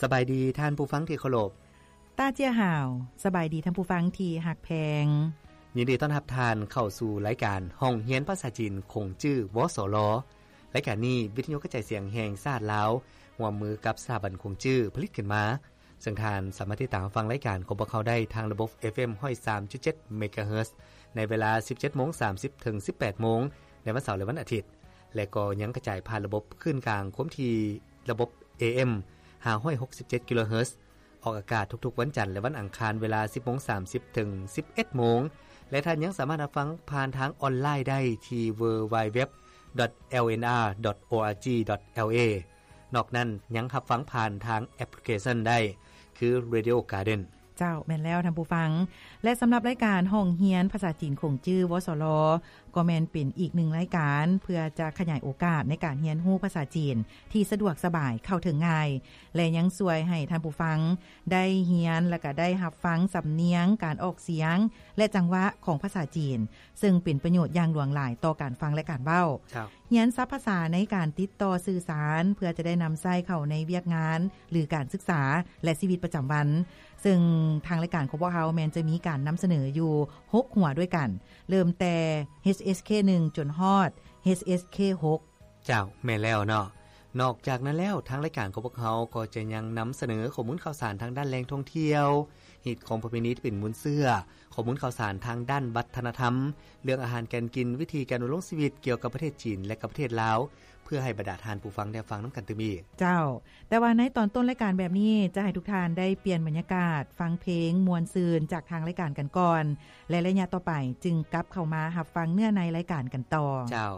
ສະບາຍດີທ່ານຜູ້ຟັງທີ່ເຄົາລົບ. ຕາເຈ້ຍຫາວ, ສະບາຍດີທ່ານຜູ້ຟັງທີ່ຮັກແພງ. ຍິນດີຕ້ອນຮັບທ່ານເຂົ້າສູ່ລາຍການຫ້ອງຮຽນພາສາຈີນຂົງຈື່ ວສລ. ລາຍການນີ້ ວິທະຍຸກະຈາຍສຽງແຫ່ງຊາດລາວ ຮ່ວມມືກັບສະຖາບັນຂົງຈື່ຜະລິດຂຶ້ນມາ, ເຊິ່ງທ່ານສາມາດຕິດຕາມຮັບຟັງລາຍການຂອງພວກເຮົາໄດ້ທາງລະບົບ ເອຟເອັມ ຮ້ອຍສາມຈຸດເຈັດ ເມກາເຮີດ ໃນເວລາ ສິບເຈັດໂມງສາມສິບ ເຖິງ ສິບແປດໂມງ ໃນວັນເສົາ ແລະ ວັນອາທິດ ແລະ ກໍຍັງກະຈາຍຜ່ານລະບົບຄື້ນກາງຄວາມຖີ່ລະບົບ ເອເອັມ ຫ້າຮ້ອຍຫົກສິບເຈັດ ກິໂລເຮີດ ອອກອາກາດທຸກໆວັນຈັນ ແລະ ວັນອັງຄານ ເວລາ ສິບໂມງສາມສິບ ເຖິງ ສິບເອັດໂມງ ແລະ ທ່ານຍັງສາມາດຮັບຟັງຜ່ານທາງອອນລາຍໄດ້ທີ່ www.lnr.org.la. ນອກນັ້ນຍັງຮັບຟັງຜ່ານທາງແອັບພລິເຄຊັນໄດ້ ຄື Radio Garden. ເຈົ້າ, ແມ່ນແລ້ວທ່ານຜູ້ຟັງ. ແລະ ສຳລັບລາຍການຫ້ອງຮຽນພາສາຈີນຂົງຈື່ ວສລ ກໍແມ່ນເປັນອີກໜຶ່ງລາຍການ ເພື່ອຈະຂະຫຍາຍໂອກາດໃນການຮຽນຮູ້ພາສາຈີນທີ່ສະດວກສະບາຍ, ເຂົ້າເຖິງງ່າຍ ແລະ ຍັງຊ່ວຍໃຫ້ທ່ານຜູ້ຟັງໄດ້ຮຽນ ແລະ ກະໄດ້ຮັບຟັງສຳນຽງ, ການອອກສຽງ ແລະ ຈັງຫວະຂອງພາສາຈີນ, ເຊິ່ງເປັນປະໂຫຍດຢ່າງຫຼວງຫຼາຍຕໍ່ການຟັງ ແລະ ການເວົ້າ. ຮຽນສັບພາສາໃນການຕິດຕໍ່ສື່ສານ ເພື່ອຈະໄດ້ນຳໃຊ້ເຂົ້າໃນວຽກງານ ຫຼື ການສຶກສາ ແລະ ຊີວິດປະຈຳວັນ, ເຊິ່ງທາງລາຍການຂອງພວກເຮົາແມ່ນຈະມີການນຳສະເໜີຢູ່ຫົກຫົວດ້ວຍກັນ, ເລີ່ມແຕ່ ເອັດເອັສເຄ ໜຶ່ງ ຈົນຮອດ ເອັດເອັສເຄ ຫົກ. ເຈົ້າ, ແມ່ນແລ້ວເນາະ. ນອກຈາກນັ້ນແລ້ວ, ທາງລາຍການຂອງພວກເຮົາກໍຈະຍັງນຳສະເໜີຂໍ້ມູນຂ່າວສານທາງດ້ານແຫຼ່ງທ່ອງທ່ຽວ, ຮີດຄອງປະເພນີທີ່ເປັນມູນເຊື້ອ, ຂໍ້ມູນຂ່າວສານທາງດ້ານວັດທະນະທຳ, ເລື່ອງອາຫານການກິນ, ວິທີການດຳລົງຊີວິດກ່ຽວກັບປະເທດຈີນ ແລະ ກັບປະເທດລາວ, ເພື່ອໃຫ້ບັນດາທ່ານຜູ້ຟັງໄດ້ຟັງນຳກັນຕື່ມອີກ. ເຈົ້າ, ແຕ່ວ່າໃນຕອນຕົ້ນລາຍການແບບນີ້ ຈະໃຫ້ທຸກທ່ານໄດ້ປ່ຽນບັນຍາກາດ, ຟັງເພງມ່ວນຊື່ນຈາກທາງລາຍການກັນກ່ອນ ແລະ ໄລຍະຕໍ່ໄປຈຶ່ງກັບເຂົ້າມາຮັບຟັງເນື້ອໃນລາຍການກັນຕໍ່. ເຈົ້າ.